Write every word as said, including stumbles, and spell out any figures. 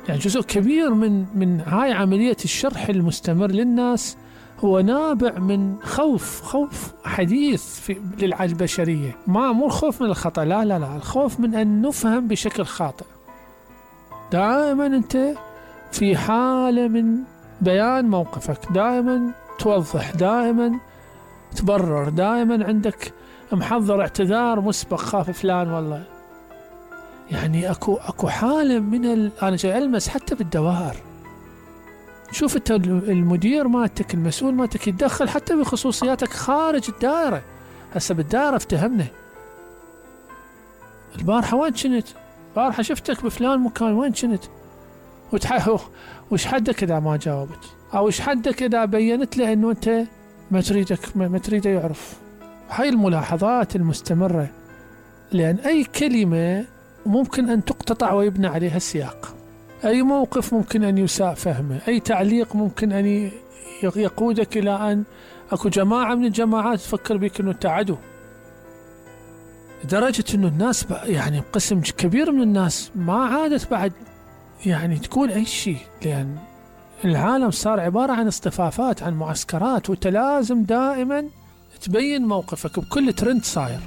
يعني جزء كبير من من هاي عملية الشرح المستمر للناس هو نابع من خوف خوف حديث في للبشرية. ما مو الخوف من الخطأ، لا لا لا، الخوف من أن نفهم بشكل خاطئ. دائما أنت في حالة من بيان موقفك، دائما توضح، دائما تبرر، دائما عندك محضر اعتذار مسبق، خاف فلان والله. يعني اكو اكو حالة من ال... انا جاي المس حتى بالدوائر. شوف انت المدير مالتك، المسؤول مالتك يتدخل حتى بخصوصياتك خارج الدائرة. هسه بالدائرة افتهمنا، البارحة وين كنت؟ البارحة شفتك بفلان مكان، وين كنت؟ وتحهو وش حدك اذا ما جاوبت، او وش حدك اذا بينت له انه انت ما تريدك ما تريده يعرف. هاي الملاحظات المستمرة، لأن أي كلمة ممكن أن تقتطع ويبنى عليها السياق، أي موقف ممكن أن يساء فهمه، أي تعليق ممكن أن يقودك إلى أن أكو جماعة من الجماعات تفكر بك أنه أنت عدو، لدرجة أنه الناس يعني قسم كبير من الناس ما عادت بعد يعني تقول أي شيء، لأن العالم صار عبارة عن اصطفافات، عن معسكرات، وأنت لازم دائما تبين موقفك بكل ترند صاير.